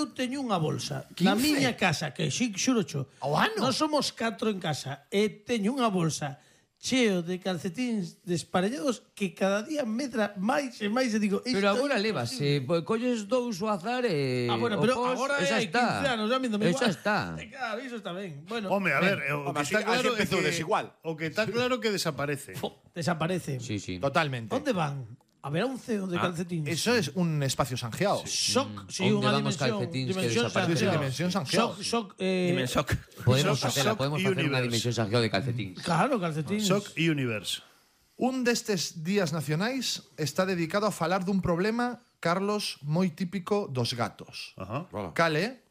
eu teño unha bolsa 15? na miña casa, que sí, xurocho. Ao ano? Nós somos 4 en casa e teño unha bolsa cheo de calcetíns desparellados que cada día medra máis e máis e digo... Pero agora levas, colles dous ao azar e... Bueno, pero o pos, agora esa hai 15 está. anos, a mí non me Esa igual. está. Claro, iso está ben. Bueno, Home, a ver, o que está claro é que desigual. o que está claro que desaparece. desaparece. Sí, sí. Totalmente. Onde van? Haberá un CEO de calcetíns. Eso es un espacio sanjeado. Shock, sí, Onde unha van os dimensión. calcetíns que Dimensión desaparecen? Sí, Sanjeao. dimensión Sanjeao. Shock, Dimensoc. Podemos Shock facela, podemos facer unha Universe. dimensión sanjeado de calcetíns. Claro, calcetíns. Shock Universe. Un destes días nacionais está dedicado a falar dun problema, Carlos, moi típico dos gatos. Ajá. Cale,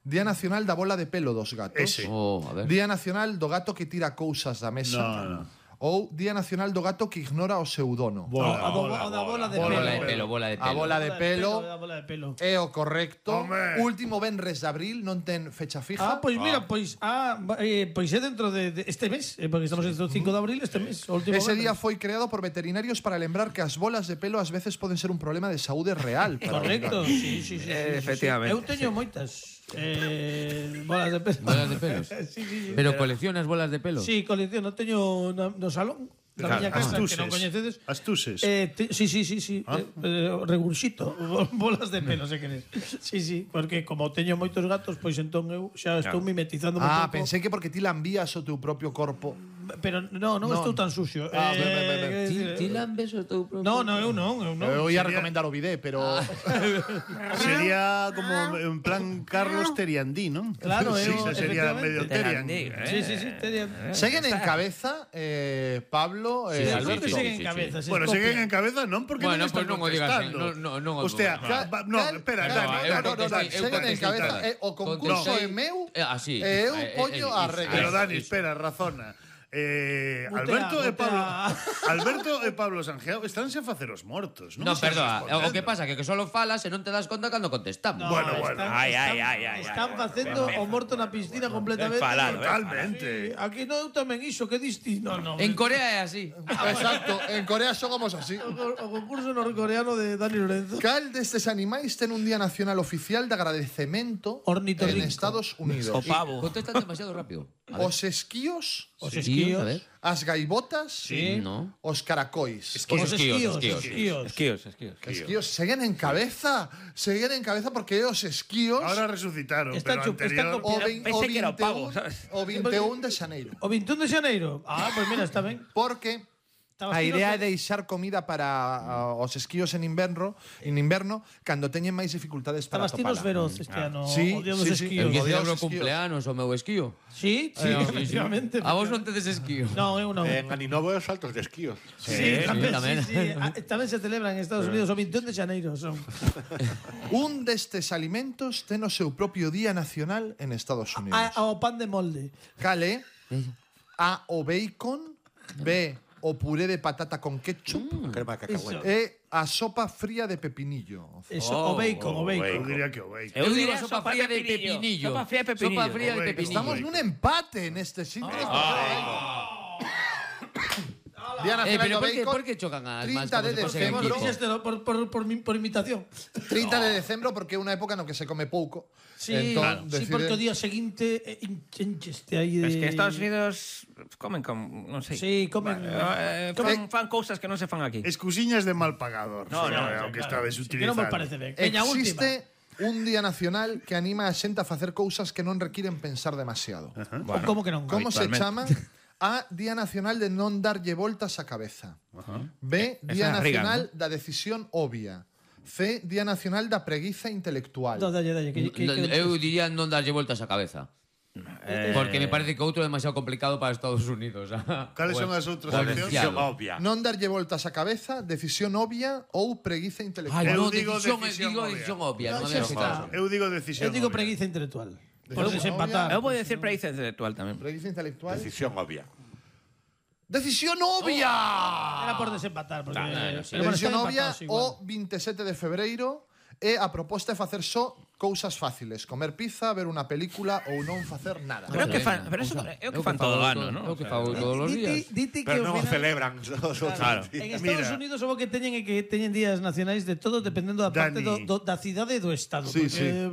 Día Nacional da bola de pelo dos gatos. Ese. Oh, a ver. Día Nacional do gato que tira cousas da mesa. No. Ou Día Nacional do gato que ignora o seu dono. Bola, A da bola de Bola de pelo. pelo, bola de A pelo. bola de pelo A bola de pelo. é o correcto. Home. Último venres de abril, non ten fecha fija. Pois mira, pois é dentro de este mes, porque estamos en 5 de abril, este mes, o último Ese día venres. foi creado por veterinarios para lembrar que as bolas de pelo ás veces poden ser un problema de saúde real. para os Correcto, gatos. sí. Efectivamente, Eu teño moitas bolas de pelo. Bolas de pelos. sí. Pero coleccionas bolas de pelo? Sí, colecciono, teño no salón da Claro, miña casa, que astuses. non coñecedes. Astuses. Sí. Regurxito, bolas de pelo, se queres. Sí, porque como teño moitos gatos, pois entón eu xa estou mimetizando un pouco. Pensei que porque ti lambías o teu propio corpo. Pero non estou tan sucio. Ti lambes o teu propio... No, eu non. Eu ia recomendar o bidé, pero Sería como en plan Carlos Teriandí, ¿no? Claro, sí, eu, esa sería medio efectivamente. Teriandí. Sí, seguen en cabeza Sí, Pablo Sí, sí, creo que sí, seguen sí, en cabeza. se Bueno, copian. siguen en cabeza, non porque Bueno, non están pues non o digas, contestando. no, Hostia, no, espera, no, Dani, eu Dani, contestei, Dani, eu seguen en contestei cabeza. todas. O concurso Contestei- é meu. Así. Eu poño a regla. Pero Dani, espera, razona. Alberto mutea. e Pablo Sanjeao estánse a facer os mortos, non? No, Están perdoa, respondendo. o que pasa que solo falas e non te das conta cando contestamos. Bueno. Están facendo o morto na piscina completamente. Totalmente. Aquí non tamén iso, que distinto. No, En Corea é así. Exacto, en Corea somos así. o concurso norcoreano de Dani Lorenzo. Cal destes animais ten un día nacional oficial de agradecemento Ornitorrinco. en Estados Unidos? O pavo. Contestas demasiado rápido. A ver. Os esquíos, Os Sí, esquíos. a ver. as gaivotas, No. os caracois. Os esquíos. Esquíos seguen en cabeza porque é os esquíos Ahora resucitaron, Está pero chup- está anterior... o, Pensei que era o pavo, ¿sabes? o 21 de xaneiro. O 21 de xaneiro. Pois mira, está ben. Porque Estabas a idea é fino, deixar comida para os esquíos en inverno cando teñen máis dificultades para Estabas tinos atopala. veros este ano. Sí, o día dos sí, sí. Eu esquíos. que Os celebro esquíos. cumpleanos o meu esquío. Sí, efectivamente. A vos non tedes esquío. Non, eu non. Eh, En Aninovo é os saltos de esquíos. Sí, tamén, tamén. sí. Tamén se celebra en Estados Unidos o 21 de xaneiro. Son. Un destes alimentos ten o seu propio día nacional en Estados Unidos. O pan de molde. Cale A, o bacon, B, o puré de patata con ketchup Crema de cacahuete. e a sopa fría de pepinillo. Eso, o bacon. Eu diría que o bacon. Eu digo sopa fría de pepinillo. Sopa fría de pepinillo. Sopa fría de Bacon. pepinillo. Estamos nun empate neste sitio. Día Nacional Pero do por que, Bacon, por que chocan as 30 mans de como se fose decembro. equipo? Dixeste por imitación. 30 de decembro porque é unha época no que se come pouco. Sí, Entón, sí, deciden- porque o día seguinte encheste aí de... Es que Estados Unidos comen con, non sei. Sí, comen... Fan cousas que non se fan aquí. Excusiñas de mal pagador. No, Aunque estades Que non me utilizando. parece ben. Veña, última. Existe un día nacional que anima a xente a facer cousas que non requiren pensar demasiado. O como que non? Como se habitualmente. chama? A, Día Nacional de non darlle voltas á cabeza. B, Día Esa Reagan, Nacional da decisión obvia. C, Día Nacional da preguiza intelectual. No, dalle. Eu diría non darlle voltas á cabeza. Porque me parece que outro é demasiado complicado para Estados Unidos. Cales son as outras Bueno, opcións? decíalo. Obvia. Non darlle voltas á cabeza, decisión obvia ou preguiza intelectual. Ai, Eu no, digo decisión decisión obvia. obvia. Non Xa é está. Eu digo decisión. Eu digo obvia. preguiza intelectual. Por Decisión desempatar. Eu vou decir preguiza intelectual tamén. Preguiza intelectual. Decisión obvia. Decisión obvia! Era por desempatar. Porque, sí. pero bueno, Decisión están obvia empatados igual. o 27 de febreiro e a proposta é facer só cousas fáciles, comer pizza, ver unha película ou non facer nada. Pero que fan, pero eso é o que fan todo o ano, non? É o que fago todos os días. Dite que Pero ao non o final- celebran os outros Claro. días. En Estados Unidos o que teñen é que teñen días nacionais de todo dependendo da parte Dani. da cidade e do estado. Sí, porque,